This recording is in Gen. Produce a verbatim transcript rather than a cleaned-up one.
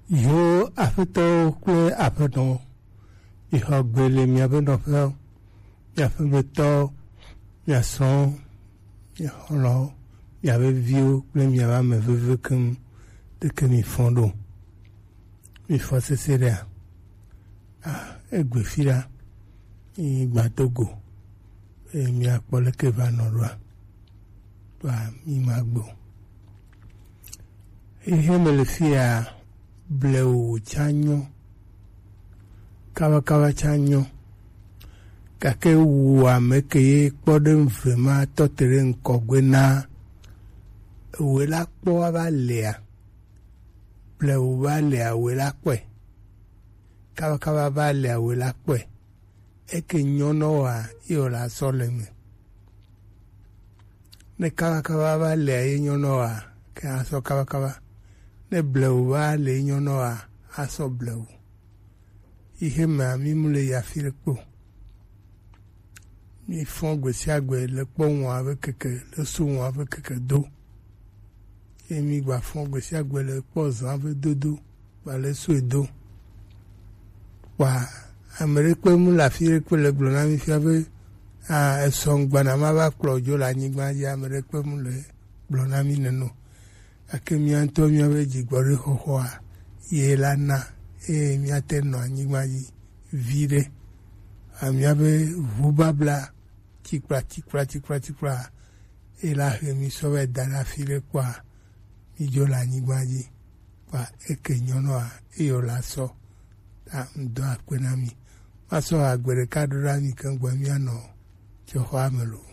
Yo aƒetɔwo kple aƒenɔwo, mixɔ gbe le miaƒe nɔƒewo, miaƒe aƒetɔwo, mia srɔ̃wo, mia xɔlɔ̃wo, miaƒe viwo kple miaƒe ame veviwo keŋ. Ɖeke mifɔ ɖo. Mifɔ sese ɖea? Ah, egbe fi ɖa. Yi gba do go. Eye miakpɔ leke va nɔ ɖoa. Kpa mi ma gbe o. Eye me le fi ya, blewu tsa nyɔ, kabakaba tsa nyɔ, gake wu ame ke ye kpɔ ɖe ŋve ma tɔ te ɖe ŋkɔgbe na ewe la kpɔ ava lea, blewu va lea we la kpɔe, kabakaba va lea we la kpɔe, eke nyɔ nɔ wa ye wòle asɔ le me. Ne kabakaba va lea ye nyɔ nɔ wa, ke asɔ kabakaba. Ne blewu va le ye nyɔ nɔ wa, asɔ blewu. Yi xe mea, mi mu le ya fi ɖe kpo. Mi fɔ gbe sia gbe le kpɔ ŋua be keke, le so ŋua be keke do. Ye mi gba fɔ gbe sia gbe le kpɔ zã be dodo, gba le so do. Kpa ame ɖekpe mu le afi ɖekpe le gblɔ na mi fia be, ah, esɔ ŋgbana ma va kplɔ dzo le anyigba dzi, ame ɖekpe mu le gblɔ na mi neno. Gake mía ŋutɔ míaƒe dzigbɔɖi xɔxɔa ye la na eye míate nɔ anyigba dzi viɖe. A, míaƒe ʋubabla tikpla, tikpla, tikpla, tikpla, ye la he mi sɔ vɛ da ɖe afi ɖe kpɔa, mi dzo le anyigba dzi. Kpa eke nyɔnɔa, eyɔ la sɔ. Ta ŋdɔ akpe na mi. Masɔ agbe ɖeka ɖo ɖa mi keŋ gbɔ mía nɔ tsɔxɔa me lo.